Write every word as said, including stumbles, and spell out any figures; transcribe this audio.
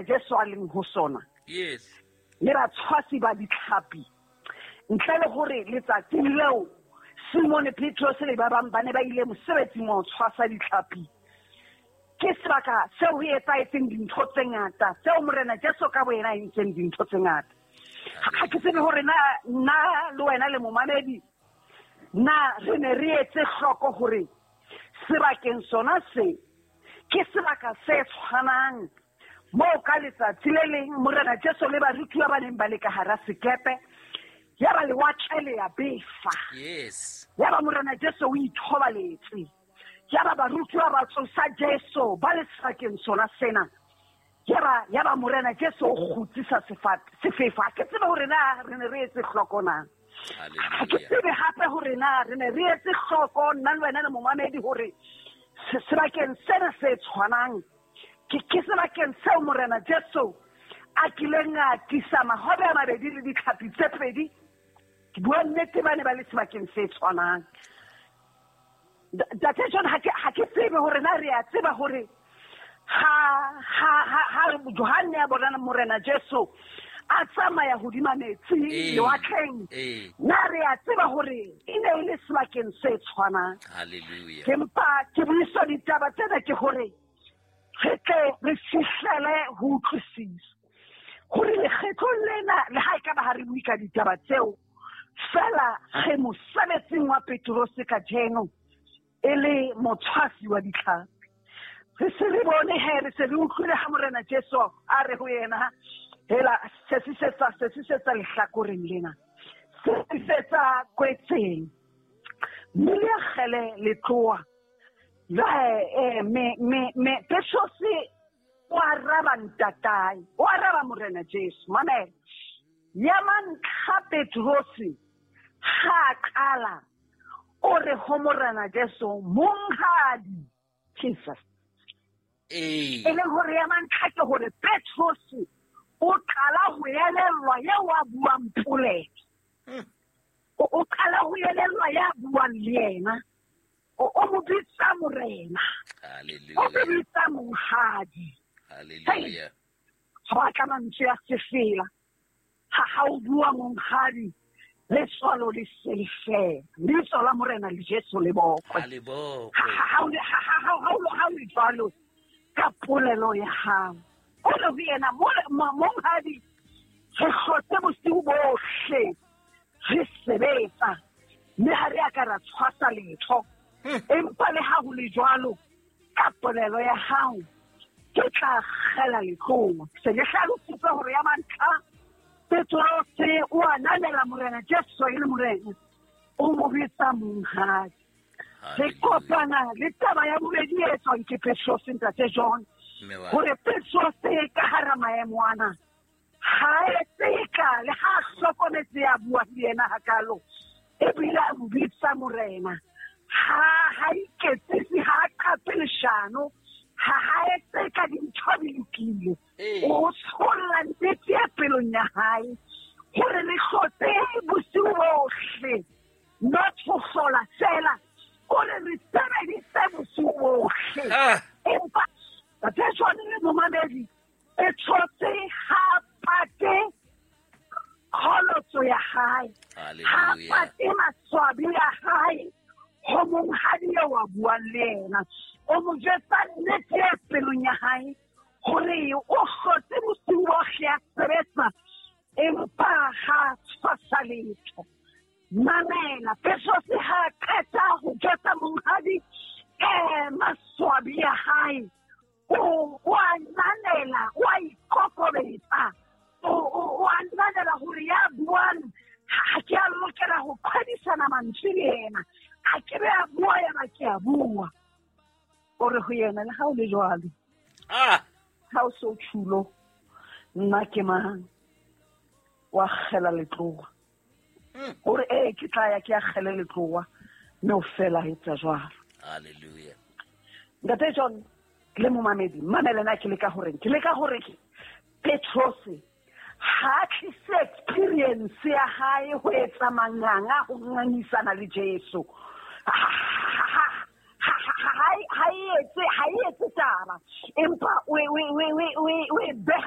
Jesu a leng ho sona. Yes. Le batshwasi ba ditlhapi. Ntle le hore letsatsing leo Simon Petrose le ba bang ba ne ba ile mosebetsing wa ho tshwasa ditlhapi. Ke sebaka seo ho etsahetseng dintho tse ngata, seo Morena Jesu ka boyena a entseng dintho tse ngata. Ha ke tsebe hore na nna le wena le momamedi na re ne re etse hloko hore sebakeng sona se ke sebaka se tshwanang moo ka letsatsi le leng Morena Jesu le barutuwa ba neng ba le ka hara sekepe, ya ba lewatle le ya befa. Yes. Ya ba Morena Jesu o ithobaletse. Ya ba barutuwa ba tsosa Jesu ba le sebakeng sona sena. Ya ba ya ba Morena Jesu o kgutsisa sefefo. Ha ke tsebe hore na re ne re etse hloko na. Ha ke tsebe hape hore na re ne re etse hloko nna le wena le momamedi hore sebakeng sena se tshwanang ke ke sebakeng seo Morena Jesu a kileng a tlisa mahobe a mabedi le ditlhapi tse pedi. Ke bua nnete, ba ne ba le sebakeng se tshwanang. Ntate John, ha ke ha ke tsebe hore na re a tseba hore ha ha ha ha Johanne a bona Morena Jesu a tsamaya hodima metsi lewatleng, na re a tseba hore e ne e le sebakeng se tshwanang. Hallelujah. Ke mpa ke buisa ditaba tsena ke hore re tle re fihlele ho utlwisisa hore lekgetlong lena le ha e ka ba ha re bue ka ditaba tseo fela, re mosebetsing wa Petrose kajeno e le motshwasi wa ditlhapi. Re se re bone he, re se re utlwile ha Morena Jesu a re ho yena, hela sesisetsa sesisetsa lehlakoreng lena, sesisetsa kwetseng, mme le akgele letloa. Jwale me me me Petrose o araba ntatae, o araba Morena Jesu. Mamela, ya mantlha Petrose ha qala o re ho Morena Jesu, monghadi. Jesus. E leng hore ya mantlha ke hore Petrose o qala ho elellwa eo a buang polelo. O qala ho elellwa ya buang le yena. O mo bitsa Morena. Hallelujah. O mo bitsa monghadi. Hallelujah. Ha batla mantswe a sefela. Ha ha o bua monghadi, letswalo le se le fela. Lebitso la Morena le Jesu le bokwe. Ha le bokwe. Ha ha ha ha o le jwalo ka polelo ya hao. O re ho yena, monghadi, re hlotse bosiu bohle re sebetsa, mme ha re a ka ra tshwasa letho. Empa le ha ho le jwalo, ka polelo ya hao ke tla kgela letloa. Se le hlalositse hore ya mantlha Petrose o ananela Morena Jesu e le Morena, o mo bitsa monghadi. Re kopana le taba ya bobedi e etswang ke Petrose, ntate John, hore Petrose ka hara maemo ana ha etse ka le ha hlokometse ya bua le yena hakalo, ebile a mo bitsa Morena. Ha ha iketsise, ha qape leshano, ha ha etse ka dintho di lokile. O tsholla nnete ya pelong ya hae hore re hlotse bosiu bohle, not ho hlola fela, hore re sebedise bosiu bohle. Empa Ntate John le momamedi, Petrose ha pate kgolotso ya hae, ha pate maswabi ya hae ho monghadi eo a buang le yena. O mo jwetsa nnete ya pelong ya hae hore o hlotse bosiu bohle a sebetsa, empa ha tshwasa letho. Mamela, Petrose ha qeta ho jwetsa monghadi eh maswabi ya hae, o o ananela, o a ikokobetsa, o o ananela hore ya buang ha ke a lokela ho qhwadisana mantswe le yena. A ke be a bua ya ba ke a bua. O re ho yena, le ha o le jwalo, ah, ha o so tjhulo, nna ke mang? Wa kgela letloa. O re ee, ke tla ya ke a kgele letloa, mme o fela etsa jwalo. Hallelujah. Ntate John le momamedi, mamela na ke leka horeng, ke leka hore Petrose ha tlise experience ya hae ho etsa manganga ho ngangisana le Jesu. Ha ha etse ha etse taba, empa o o o o o beha